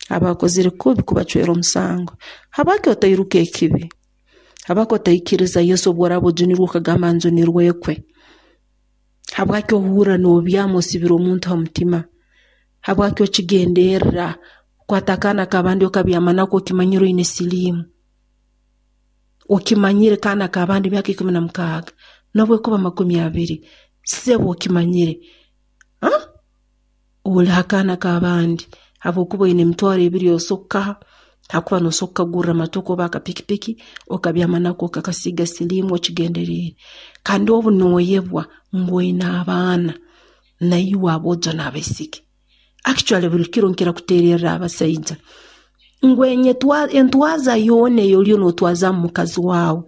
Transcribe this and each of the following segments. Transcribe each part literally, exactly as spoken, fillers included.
Abakozire kubi kubacwera omusango. Habwaki otairuka ekibi? Habwaki otaikiriza Yesu obu oraaba ojunirwe okagamba njunirwekwe? Habwaki ohurra noobyama osibire omuntu ha mutima? Habwaki okigenderra okwata akaana k'abandi okabyama nako okimanyire oine siliimu? Okimanyire kaana k'abandi myaka ikumi na mukaaga nobu ekuba makumi abiri, sebo okimanyire, huh? Oli ha kaana k'abandi habwokuba oine emitwaro ebiri osobola kukaha, hakuba noosobora kukagurra motoka oba akapikipiki, okabyama nako okakasiiga siliimu okigenderiire. Kandi obu nooyebwa ngu oine abaana, naiwe aboojo n'abaisiki. Actually buli kiro nkira kuteererra abasaija ngu enyetwa entwaza yoona ei oliyo nootwazaamu mukazi waawe,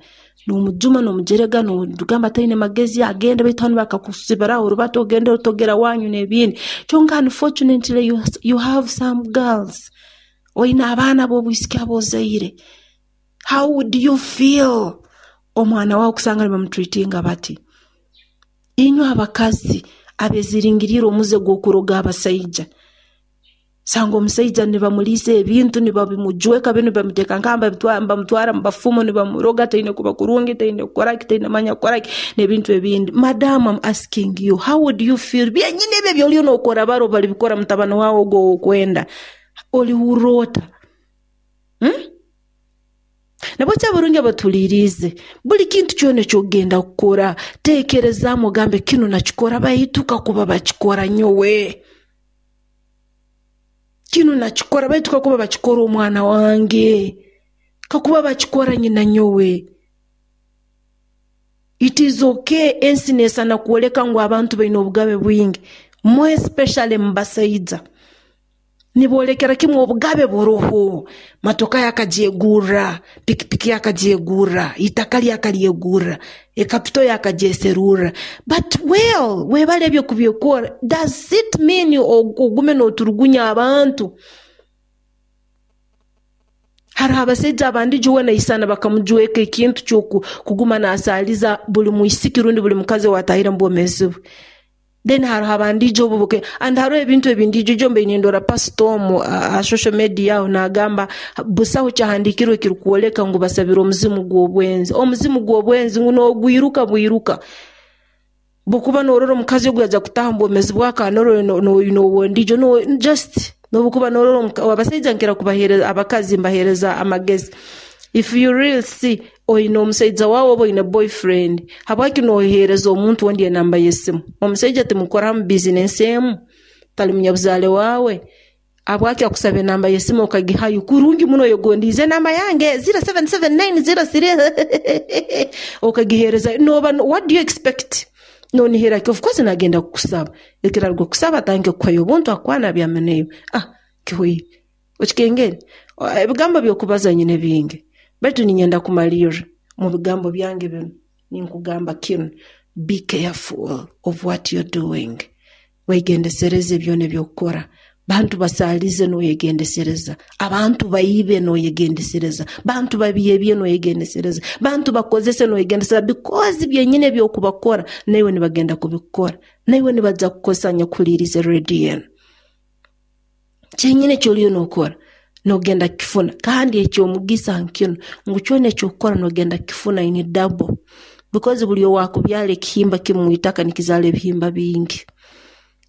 noomujuma, noomujerega, noogamba taine magezi agende, baitu hanu bakakusibiraho orubatu ogende otogera wanyu n'ebindi. Kyonka unfortunately you, you have some girls, oine abaana b'obwisiki ab'ozaire. How would you feel omwana waawe kusanga nibamutreatinga bati? Inywe abakazi abeeziringiriire omuze gw'okuroga abasaija, sanga omusaija nibamuliisa ebintu nibabimujweka binu nibamuteeka nkaha nibamutwara mu bafumu nibamuroga taine kuba kurungi, taine kukora ki, taine manya kukora ki n'ebintu ebindi. Madam, I'm asking you, how would you feel? Byenyini ebi ebyoliyo nookora baro balibikora mutabani waawe ogu ow'okwenda, olihurra ota? Hmm? Nabweki abarungi abatuliiriize, buli kintu kyona eky'okugenda kukora, teekerezaamu ogambe kinu nakikora baitu kakuba bakikora nyowe. Kinu nakikora baitu kakuba bakikora omwana wange, kakuba bakikora nyina nyowe. It is okay ensi neesana kwoleka ngu abantu baine obugabe bwingi, more especially mu basaija. Niboolekera kimu obugabe buroho, motoka yakagyegurra, pikipiki yakagyegurra, itaka lyakalyegurra, ekapito yakagyeserurra. But well, webale ebyo kubyekora, does it mean ogume nooturugunya abantu? Haroho abasaija abandi weena aisana bakamujweka ekintu ky'okuguma naasaaliza buli mwisiki rundi buli mukazi owaatahire mu bwomeezi bwe. Then haroho abandiijo obu and haroho ebintu ebindiijo ijo mbaire nindora pastor omu ha social media aho naagamba busaho kyahandiikirwe ekirukwoleka ngu basabire omuzimu gw'obwenzi. Omuzimu gw'obwenzi ngu noogwiruka bwiruka. Bw'okuba noorora omukazi ogu yaija kutaaha omu bwomeezi bwawe akaba noine ow'ondiijo just nobu okuba noorora abasaija nkira kubaheereza abakazi mbaheereza amagezi. If you really see oine omusaija waawe oba oine boyfriend, habwaki nooheereza omuntu ondi enamba y'esimu? Omusaija timukora hamu bizinesi emu? Tali munyabuzaale waawe? Habwaki akusaba enamba y'esimu okagihayo kurungi muno oyegondiize enamba yange zero seven seven nine zero three okagiheereza nooba what do you expect? Noonihira ki? Of course naagenda kukusaba. Ekiraruga kukusaba atandike kukuhayo obuntu akukwane abyame naiwe. Ah, kihwaire. Okikengere? Ebigambo by'okubaza nyine bingi, baitu ninyenda kumalirra mu bigambo byange binu ninkugamba kinu, be careful of what you're doing. Weegendesereze byona eby'okukora. Bantu basaalize nooyegendesereza, abantu baibe nooyegendesereza, bantu babyebye nooyegendesereza, bantu bakozese nooyegendesereza because byenyini eby'okubakora naiwe nibagenda kubikukora, naiwe nibaija kukukozesa nyakuhuliiriza rediyo enu. Kyenyini eki oliyo nookora noogenda kukifuna kandi eky'omugisa nkinu ngu kyona eki okukora noogenda kukifuna in double because buli owaakubyara ekihimba kimu mwitaka nikizaara ebihimba bingi.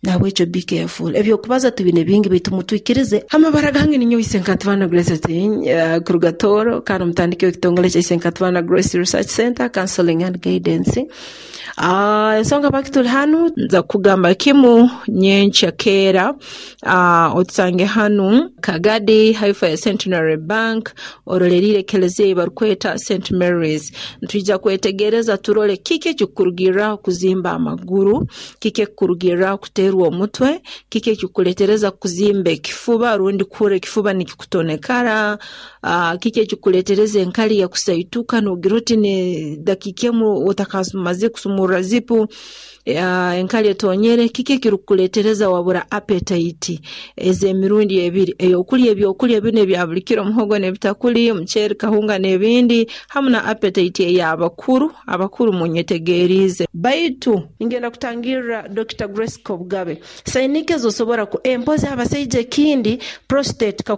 Nahabwekyo be careful. Ebyokubaza tubine bingi baitu mutwikirize. Amabara gange ninyowe Isenkatibana Grace uh, kuruga Tooro kandi omutandiki w'ekitongole kya Isenkatibana Grace Research Center Counseling and Guidance. Uh, ensonga baki tuli hanu nza kugamba kimu nyenkya keera uh, otusange hanu Kagadi haifa ya Centenary Bank oroleriire ekelezia ei barukweta Saint Mary's. Nitwija kwetegereza turole kiki ekikukurugirraho kuzimba amaguru, kiki ekikukurugirraho kuteerwa omutwe, kiki ekikukuleetereza kuzimba ekifuba rundi kuhurra ekifuba nikikutonekara, uh, kiki ekikukuleetereza enkali yakusaituka noogira oti dakiika emu otakamaze kusumurra zipu, uh, enkali etonyere, kiki ekirukukuleetereza wabura appetite ez'emirundi ebiri, ey'okulya ebyokulya binu ebya buli kiro muhogo n'ebitakuli, omuceeri, kahunga n'ebindi, hamu na appetite ey'abakuru, abakuru munyetegeriize. Baitu ningenda kutangirra Doctor Grace Kobugabe. Sainike z'osobora ku empozi abasaija ekindi prostate.